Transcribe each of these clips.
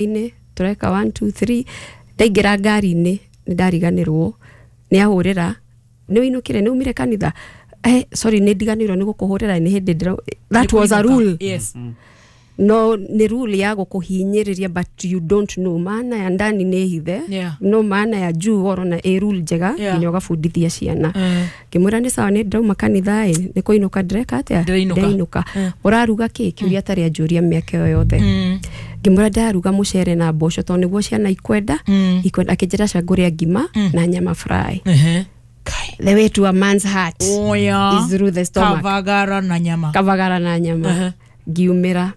Inĩ tũreka 1 2 3, ndaingĩra ngari-inĩ nĩ ndariganĩrwo nĩ ahũrĩra, nĩ ũinũkire, nĩ umire kanitha, sorry, nĩ ndiganĩirwo nĩ gũkũhũrĩra, nĩ hĩndĩ ndĩra. That was a rule. No nĩ rule ya gũkũhinyĩrĩria, but you don't know maana ya ndani nĩ hithe, no maana ya juu worona ĩ rule njega nginya ũgabundithia ciana. Ngĩmwĩra nĩ sawa, nĩ ndauma kanitha ĩ, nĩ kũinũka ndĩreka atĩa? Ndĩrainũka. Ndĩrainũka. Ũraruga kĩ? Kĩũria atarĩ anjũria mĩaka ĩyo yothe. Ngĩmwĩra ndĩraruga mũcere na mboco tondũ nĩguo ciana ikwenda ikwenda. Akĩnjĩra ca ngũrĩa ngima na nyama fry. Kai. The way to a man's heart Oya. is through the stomach. Kavagara na nyama. Kavagara na nyama. Ngiumĩra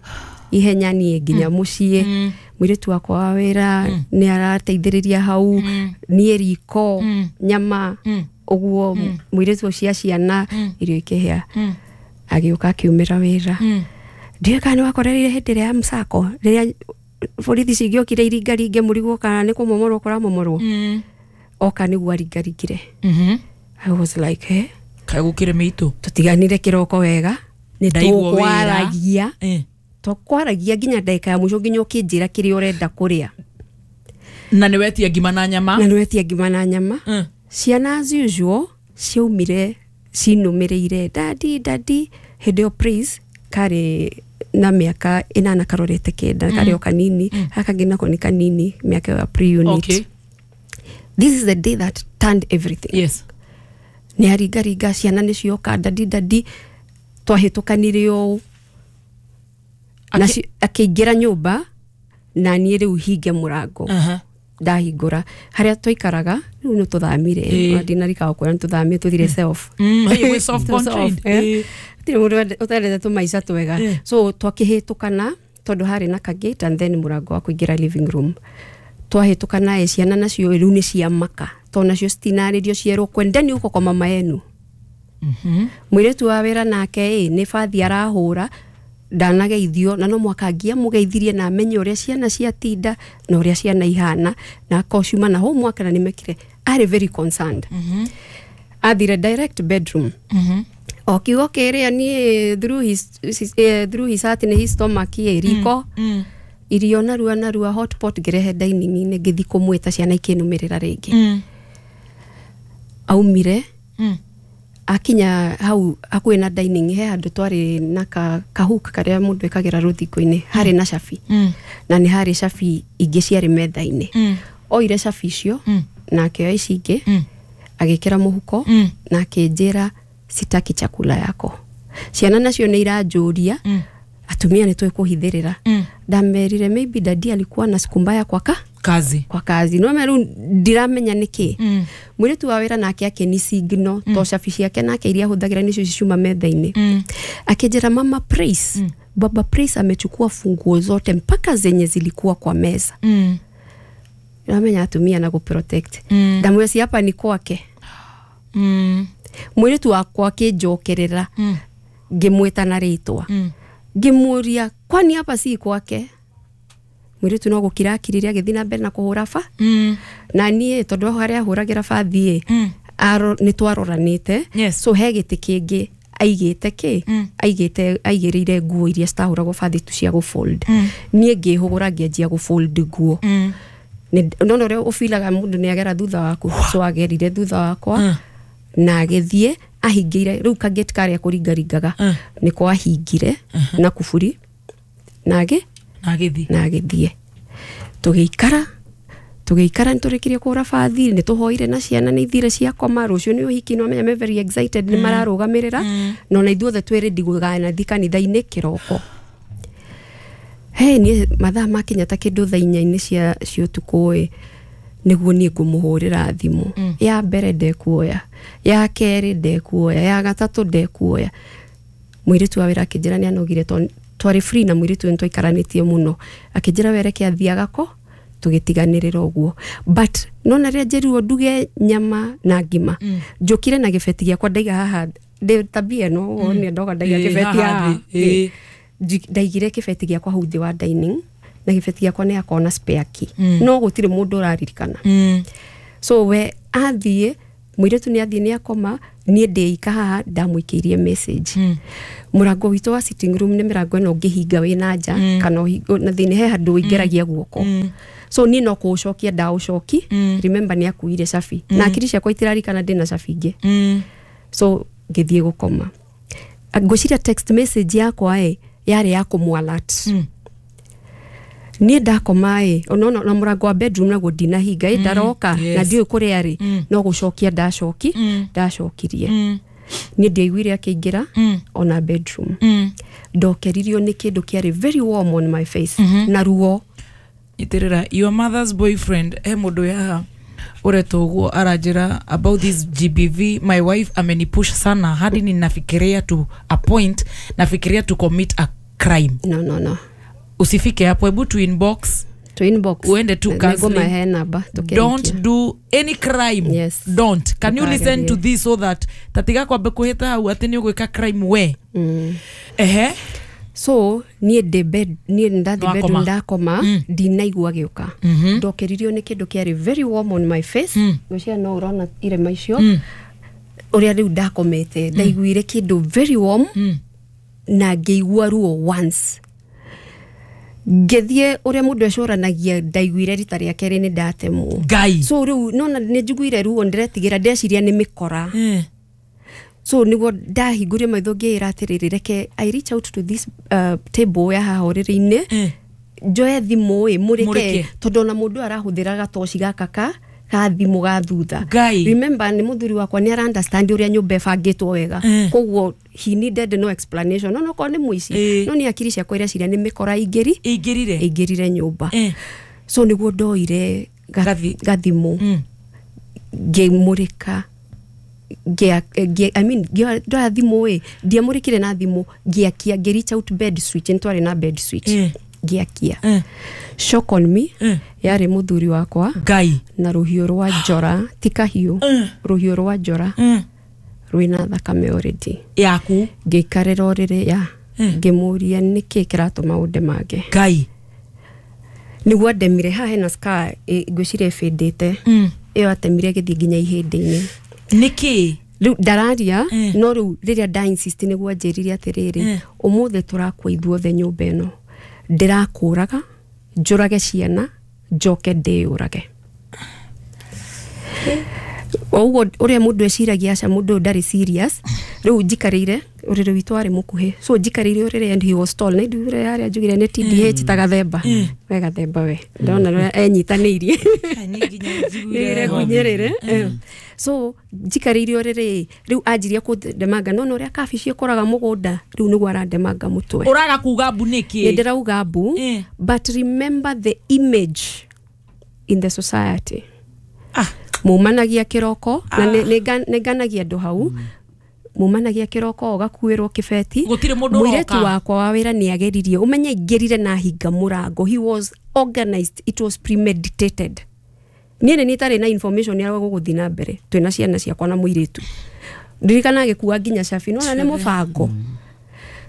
ihenya niĩ nginya mũciĩ, mũirĩtu wakwa wa wĩra nĩ arateithĩrĩria hau, niĩ riko, nyama ũguo, mũirĩtu cia ciana, irio ikĩhĩa. Agĩũka akiumĩra wĩra. Ndiũĩ kana nĩ wakorereire hĩndĩ ĩrĩa ya msako, rĩrĩa borithi cingĩokire iringaringe mũrigwo kana nĩ kũmomorwo kũramomorwo. Oka nĩguo aringaringire. I was like, eh? Kaĩ gũkĩrĩ mĩitũ. Tũtiganire kĩroko wega nĩ Ndaigua wĩra. tũkwaragia, twakwaragia nginya ndagĩka ya mũico, nginya ũkĩnjĩra kĩrĩa ũrenda kũrĩa. Na nĩ wetia ngima na nyama. Na nĩ wetia ngima na nyama. Ciana as usual ciaumire cinũmĩrĩire, "Daddy, daddy." Hĩndĩ ĩyo Praise karĩ na mĩaka 8 karorete 9, karĩ o kanini. Gaka kangĩ nako nĩ kanini, mĩaka ĩyo ya pre-unit. This is the day that turned everything. Nĩ aringaringa, ciana nĩ cioka, "Daddy, daddy." Twahĩtũkanire ũũ na akĩingĩra nyũmba na niĩ rĩu hinge mũrango. Ndahingũra harĩa twaikaraga, rĩu nĩ tũthamire. Ndinarikaga kwĩra nĩ tũthamire, tũthire self. Hey, we soft contained. Gũtirĩ mũndũ ũtendete tũmaica twega. So twakĩhĩtũkana tondũ harĩ na kagate and then mũrango wa kũingĩra living room. Twahĩtũkana ĩ, ciana nacio rĩu nĩ ciamaka tondũ nacio citinarĩrio cierwo kwendeni huko kwa mama yenu. Mũirĩtu wa wĩra nake ĩ nĩ bathi arahũra, ndanageithio, na no mwaka angiamũgeithirie na amenye ũrĩa ciana ciatinda na ũrĩa ciana ihana, na akorwo ciuma na homework na nĩmekire, arĩ very concerned. Athire direct bedroom. O kiugo kĩrĩa niĩ through his heart nĩ his stomach ĩ riko. Irio narua narua, hot pot ngĩrehe dining-inĩ, ngĩthiĩ kũmwĩta, ciana ikĩnũmĩrĩra rĩngĩ. Aumire akinya hau hakuhĩ na dining, he handũ twarĩ na kahook karĩa mũndũ ĩkagĩra rũthingo-inĩ, harĩ na cabi. Na nĩ harĩ cabi ingĩ ciarĩ metha-inĩ. Oire cabi icio na akĩoya ici ingĩ, agĩkĩra mũhuko na akĩnjĩra, "Sitaki chakula yako." Ciana nacio nĩ iranjũria, atumia nĩ tũĩ kũhithĩrĩra. Ndamerire maybe daddy alikuwa na siku mbaya kwa ka kazi. Kwa kazi no rĩu ndiramenya nĩkĩ. Mũirĩtu wa wĩra nake akĩni signal to cabi ciake nake iria ahũthagĩra nĩcio ciuma metha-inĩ. Akĩnjĩra, "Mama Praise, baba Praise amechukua funguo zote mpaka zenye zilikuwa kwa meza." Ramenya atumia na gũprotect. Ndamwĩra si hapa ni kwake. Mũirĩtu wakwa akĩnjokerera, ngĩmwĩta na rĩtwa, ngĩmũria, "Kwani hapa si kwake?" Mũirĩtu no gũkira akirire, agĩthiĩ na mbere na kũhũra ba. Na niĩ tondũ harĩa ahũragĩra bathi ĩ, nĩ twaroranĩte. So he gĩtĩ kĩngĩ aigĩte kĩ aigĩte, aigĩrĩire nguo iria citahũragwo bathi tu cia gũfold. Niĩ ngĩhũgũra, ngĩanjia gũfold nguo. Nona ũrĩa ũbilaga mũndũ nĩ agera thutha waku, so agerire thutha wakwa na agĩthiĩ ahingĩire rĩu kagate karĩa kũringaringaga. Nĩko ahingire na kuburi na agĩ Na agĩthiĩ. Na agĩthiĩ. Tũgĩikara, tũgĩikara, nĩ tũrĩkirie kũhũra bathi, nĩ tũhoire na ciana nĩ ithire ciakoma. Rũciũ nĩ ũhiki, no menya me very excited, nĩ mararũgamĩrĩra, na ona ithuothe twĩ ready gũganathiĩ kanitha-inĩ kĩroko. He niĩ mathaa makinya ta kĩndũ thaa 4-inĩ cia ũtukũ ĩ, nĩguo niĩ ngũmũhũrĩra thimũ. Ya mbere ndekuoya, ya kerĩ ndekuoya, ya gatatũ ndekuoya. Mũirĩtu wa wĩra akĩnjĩra nĩ anogire tondũ twarĩ free na mũirĩtu ũyũ nĩ twaikaranĩtie mũno. Akĩnjĩra we reke athiĩ agako, tũgĩtiganĩrĩra ũguo. But nona rĩrĩa njĩrirwo nduge nyama na ngima, njũkire na gĩbeti gĩakwa ndaiga haha ndĩ tabia ĩno wonire ndoka ndaiga kĩbeti haha haha thĩ, ĩĩ. Ndaigire kĩbeti gĩakwa hau thĩ wa dining, na kĩbeti gĩakwa nĩ akorwo na spare key, no gũtirĩ mũndũ ũraririkana. So we athiĩ Mũirĩtu nĩ athiĩ nĩ akoma, niĩ ndĩika haha ndamũikĩirie message. Mũrango witũ wa sitting room nĩ mĩrango ĩno ũngĩhinga wĩ na nja, kana na thĩinĩ he handũ ũingĩragia guoko. So niĩ no kũũcokia ndaũcoki. Remember nĩ akuire cabi, na akiri ciakwa itirarikana ndĩna cabi ingĩ. So ngĩthiĩ gũkoma, ngwĩciria text message yakwa ĩ yarĩ ya kũmũ alert. Niĩ ndakoma ĩ, ona na mũrango wa bedroom naguo ndinahinga ĩ, ndaroka na ndiũĩ kũrĩa arĩ, no gũcokia ndacoki ndacokirie. Niĩ ndiaiguire akĩingĩra ona bedroom. Ndokeririo nĩ kĩndũ kĩarĩ very warm on my face na ruo. Nyitĩrĩra your mother's boyfriend. He mũndũ haha ũretwo ũguo aranjĩra about this GBV: "My wife amenipush sana hadi ninafikiria to a point nafikiria to commit a crime." No, no, no. Usifike hapo, hebu tu inbox. To inbox. Uende tu counseling. Nĩngũmahe namba tũkĩrĩkia. Don't do any crime. Yes. Don't. Can you listen to Ndũkagerie. this so that tatiga kwambe kuhĩta hau atĩ nĩ ũgwĩka crime we? Ehe. So niĩ ndĩ bed, niĩ ndathiĩ Wakoma. bedroom ndakoma, ndinaigua gĩũka. Ndokeririo nĩ kĩndũ kĩarĩ very warm on my face. Ngwĩciria no ũrona irema icio ũrĩa rĩu ndakomete. Ndaiguire kĩndũ very warm na ngĩigua ruo once. Ngĩthiĩ ũrĩa mũndũ ecũranagia, ndaiguire rita rĩa kerĩ nĩ ndatemwo. Ngai. So rĩu nona nĩ njiguire ruo, ndĩretigĩra, ndeciria nĩ mĩkora. So niguo ndahingũrie maitho ngĩĩra atĩrĩrĩ, reke I reach out to this table ya haha ũrĩrĩ-inĩ, njoe thimũ ĩ mũrĩke, Mũrĩke. tondũ ona mũndũ arahũthĩra gatoci gaka ka thimũ ga thutha. Ngai. Remember nĩ mũthuri wakwa, nĩ ara understand ũrĩa nyũmba ĩbangĩtwo wega. Koguo he needed no explanation, no nokorwo nĩ mũici. No nĩ akiri ciakwa ireciria nĩ mĩkora ingĩri Ĩingĩrire. ĩingĩrire nyũmba. So nĩguo ndoire gathimũ, ngĩmũrĩka, I mean, ndoya thimũ ĩ, ndiamũrĩkire na thimũ, ngĩakia, ngĩ reach out bed switch, nĩ twarĩ na bed switch. Ngĩakia. Shock on me, yarĩ mũthuri wakwa Ngai. na rũhiũ rwa njora, ti kahiũ, rũhiũ rwa njora rwĩna thakame already. Yaku. Ngĩikarĩra ũrĩrĩ ya, ngĩmũria nĩkĩ kĩratũma ũndemange. Ngai. Nĩguo andemire haha hena scar, ngwĩciria ĩbĩndĩte. Ĩyo atemire ĩgĩthiĩ nginya ihĩndĩ-inĩ. Nĩkĩ? Rĩu ndararia, no rĩu rĩrĩa nda insist nĩguo anjĩrire atĩrĩrĩ, ũmũthĩ tũrakua ithuothe nyũmba ĩno, ndĩrakũraga njũrage ciana njoke ndĩyũrage. O ũguo ũrĩa mũndũ eciragia, aca, mũndũ ũyũ ndarĩ serious. Rĩu njikarĩire ũrĩrĩ witũ warĩ mũkuhĩ, so njikarĩire ũrĩrĩ and he was tall, na nduire harĩa njugire nĩ TDH ta gathemba we, gathemba we, ndona ũrĩa enyitanĩirie. Nĩire ngunyĩrĩre. So njikarĩire ũrĩrĩ, rĩu anjirie kũndemanga, nona ũrĩa kabici ĩkũraga mũgũnda, rĩu nĩguo arandemanga mũtwe. Ũraga kuga mbu nĩkĩ? Nĩ ndĩrauga mbu. But remember the image in the society. Mumanagia kĩroko na nĩ nganagia andũ hau, mumanagia kĩroko ũgakuĩrwo kĩbeti. Gũtirĩ mũndũ Mũirĩtu ũroka. wakwa wa wĩra nĩ ageririe, ũmenye aingĩrire na hinga mũrango. He was organized, it was premeditated. Niĩ nĩ itarĩ na information ya gũgũthiĩ na mbere twĩna ciana ciakwa na mũirĩtu, ndirikana agĩkua nginya cabi, nona nĩ mũbango.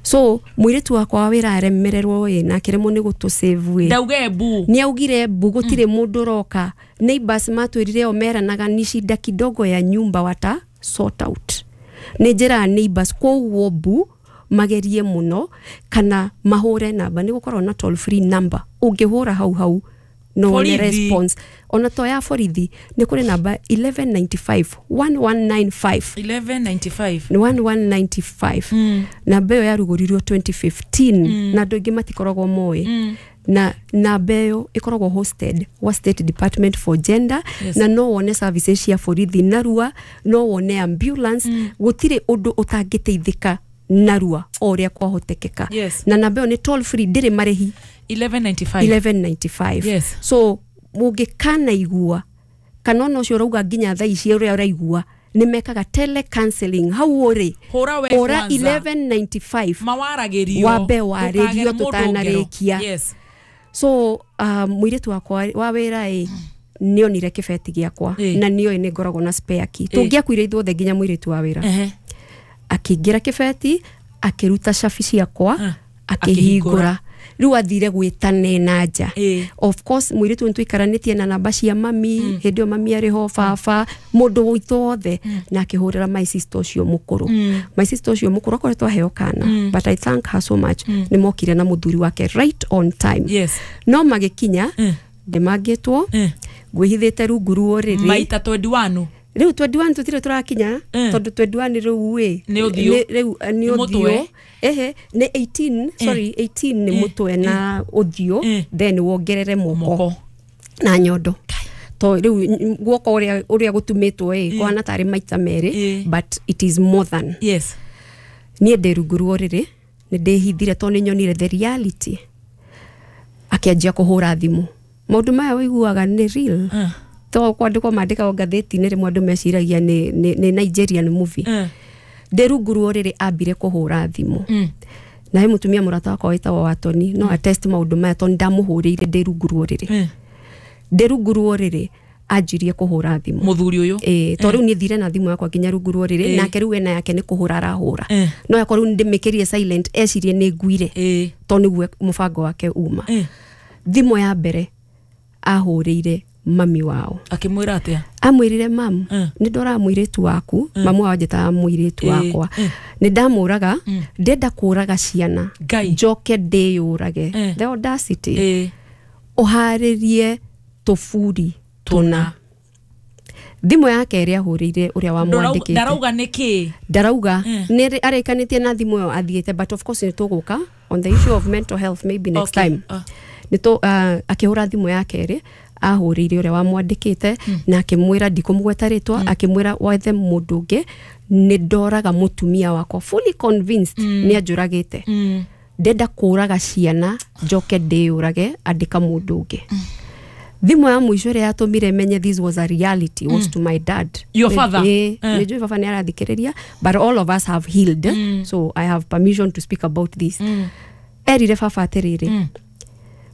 So mũirĩtu wakwa wa wĩra aremererwo ĩ, na akĩremwo nĩ gũtũ save ĩ. Ndauge mbu. Nĩ augire mbu, gũtirĩ mũndũ ũroka. Neighbors matwĩrire o meranaga ni shida kidogo ya nyumba, wata sort out. Nĩ njĩra neighbors, koguo mbu magerie mũno kana mahũre namba, nĩ gũkorwo na toll free number ũngĩhũra hau hau no wone Borithi. response. Ona to ya borithi, nĩ kũrĩ namba 1195, 1195. 1195. 1195, namba ĩyo yarugũririo 2015 na andũ aingĩ matikoragwo moĩ, na namba ĩyo ĩkoragwo hosted wa State Department for Gender. Na no wone services cia borithi narua, no wone ambulance, gũtirĩ ũndũ ũtangĩteithĩka narua o ũrĩa kwahotekeka. Na namba ĩyo nĩ toll free, ndĩrĩ marĩhi. 1195. 1195. So mũngĩkanaigua kana ona ũcio ũrauga nginya thaa ici ũrĩa ũraigua nĩ mekaga telecounseling hau ũrĩ. Hũra we Hũra kwanza. 1195. Mawaragĩrio. Wambe warĩrio Ndũkagere mũndũ ngero. tũtanarĩkia. So mũirĩtu wakwa wa wĩra ĩ nĩonire kĩbeti gĩakwa na nĩoĩ nĩ ngoragwo na spare key, tũngĩakuire ithuothe nginya mũirĩtu wa wĩra. Akĩingĩra kĩbeti, akĩruta cabi ciakwa, akĩhingũra. Rĩu athire gwĩtane na nja. Of course mũirĩtu nĩ tũikaranĩtie na namba cia mami, hĩndĩ ĩyo mami arĩ ho, baba, mũndũ witũ wothe, na akĩhũrĩra my sister ũcio mũkũrũ. My sister ũcio mũkũrũ akoretwo aheo kana, but I thank her so much, nĩ mokire na mũthuri wake right on time. No magĩkinya, ndĩmangĩtwo, ngwĩhithĩte rungu rwa ũrĩrĩ. Maita 21. Rĩu 21 tũtirĩ tũrakinya, tondũ 21 rĩu ĩ Nĩ ũthiũ. Rĩu nĩ Nĩ mũtwe. ũthiũ. Ehe, nĩ 18, sorry, 18 nĩ mũtwe na ũthiũ, then wongerere moko moko na nyondo, to rĩu guoko ũrĩa gũtumĩtwo ĩ kũhana tarĩ maita merĩ, but it is more than. Niĩ ndĩ rungu rwa ũrĩrĩ, nĩ ndĩhithire tondũ nĩ nyonire the reality. Akĩanjia kũhũra thimũ. Maũndũ maya ũiguaga nĩ real, to kwandĩkwo mandĩkagwo ngathĩti-inĩ, rĩmwe andũ meciragia nĩ Nigerian movie. Ndĩ rungu rwa ũrĩrĩ, ambire kũhũra thimũ, na he mũtumia mũrata wakwa wĩtagwo Watoni, no attest maũndũ maya, tondũ ndamũhũrĩire ndĩ rungu rwa ũrĩrĩ. Ndĩ rungu rwa ũrĩrĩ anjirie kũhũra thimũ. Mũthuri ũyũ? Ĩĩ, to rĩu niĩ thire na thimũ yakwa nginya rungu rwa ũrĩrĩ, nake rĩu ena yake nĩ kũhũra arahũra. No yakwa rĩu ndĩmĩkĩrie silent, ecirie nĩ nguire, to nĩguo mũbango wake uma. Thimũ ya mbere ahũrĩire mami wao. Akĩmwĩra atĩa? Amwĩrire, "Mam, nĩ ndoraga mũirĩtu waku." Mamu wao anjĩtaga mũirĩtu wakwa. "Nĩ ndamũraga, ndenda kũraga ciana, Ngai. njoke ndĩyũrage." The audacity. "Ũharĩrie tũburi tũna." Thimũ ya kerĩ ahũrĩire ũrĩa wamwandĩkĩte. Ndarauga nĩ kĩ? Ndarauga nĩ arĩkanĩtie na thimũ ĩyo athiĩte, but of course nĩ tũgũka on the issue of mental health maybe next time. Nĩ tũ akĩhũra thimũ ya kerĩ ahũrĩire ũrĩa wamwandĩkĩte na akĩmwĩra, ndikũmũgweta rĩtwa, akĩmwĩra wethe mũndũ ũngĩ, nĩ ndoraga mũtumia wakwa, fully convinced nĩ anjũragĩte, ndenda kũraga ciana njoke ndĩyũrage, andĩka mũndũ ũngĩ. Thimũ ya mũico ĩrĩa yatũmire menye this was a reality was to my dad. Your father? Ĩĩ, nĩ njũĩ baba nĩ arathikĩrĩria, but all of us have healed, so I have permission to speak about this. Erire baba atĩrĩrĩ,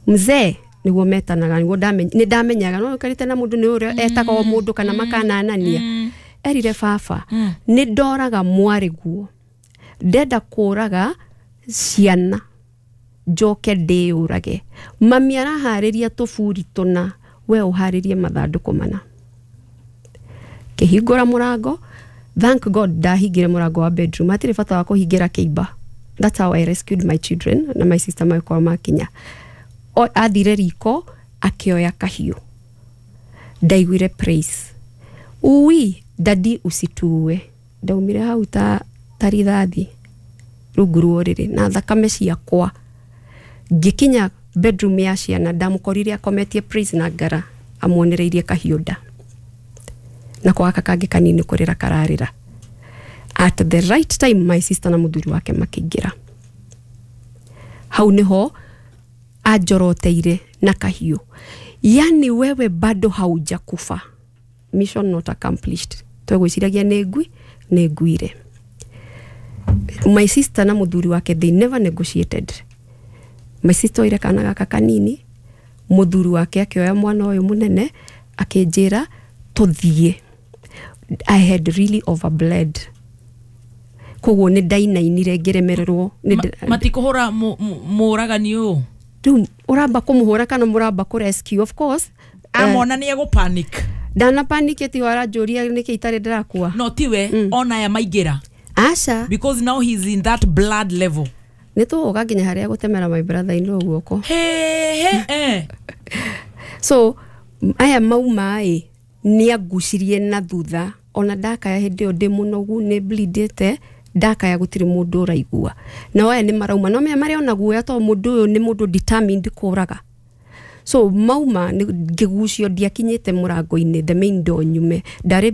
mzee, nĩguo metanaga, nĩguo nĩ ndamenyaga no ũkarĩte na mũndũ nĩ ũrĩa etaga o mũndũ kana makananania. Erire baba, "Nĩ ndoraga mwarĩ guo, ndenda kũraga ciana njoke ndĩyũrage. Mami araharĩria tũburi tũna, we ũharĩrie mathandũkũ mana." Kĩhingũra mũrango, thank God ndahingire mũrango wa bedroom, hatirĩ bata wa kũhingĩra kĩimba. That's how I rescued my children, na my sister magĩkorwo makinya. Athire riko akĩoya kahiũ. Ndaiguire praise, "Ui, dadi, usituue." Ndaumire hau ta rithathi rungu rwa ũrĩrĩ na thakame ciakwa, ngĩkinya bedroom ya ciana, ndamũkorire akometie Praise na ngara, amuonereirie kahiũ nda, nako gaka kangĩ kanini kũrĩra kararĩra. At the right time my sister na mũthuri wake makĩingĩra. Hau nĩho anjoroteire na kahiũ, "Yani wewe bado haujakufa." Mission not accomplished. Twegwĩciragia nĩ ngui, nĩ nguire. My sister na mũthuri wake, they never negotiated. My sister oire kana gaka kanini, mũthuri wake akĩoya mwana ũyũ mũnene, akĩnjĩra tũthiĩ. I had really overbled, koguo nĩ ndainainire ngĩremererwo. Matikũhũra mũragani ũyũ? Rĩu ũramba kũmũhũra kana mũramba kũ rescue? Of course. Amona nĩ egũ panic. Ndana panic ti aranjũria nĩkĩ itarĩ ndĩrakua. No tiwe ona aya maingĩra? Aca. Because now he's in that blood level. Nĩ tũgũka nginya harĩa gũtemera my brother in law guoko. He he eh. So aya mauma ĩ nĩ angucirie na thutha, ona ndakaya hĩndĩ ĩyo ndĩ mũnogu, nĩ bleedĩte, ndakaya gũtirĩ mũndũ ũraigua. Nao aya nĩ marauma, no menya marĩ ona guoya, tondũ mũndũ ũyũ nĩ mũndũ determined kũraga. So mauma ngĩgucio, ndiakinyĩte mũrango-inĩ, the main door nyume, ndarĩ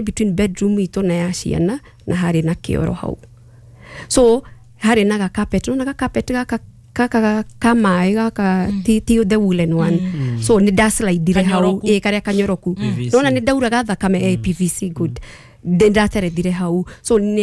between bedroom itũ na ya ciana, na harĩ na kĩoro hau, so harĩ na gakapet, nona gakapet gaka ka maĩ gaka, ti the woolen one, so nĩ ndaslidire hau. Kanyoroku. Ĩ, karĩa kanyoroku. PVC. Nona nĩ ndauraga thakame, PVC, good. Nĩ ndaterethire hau, so nĩ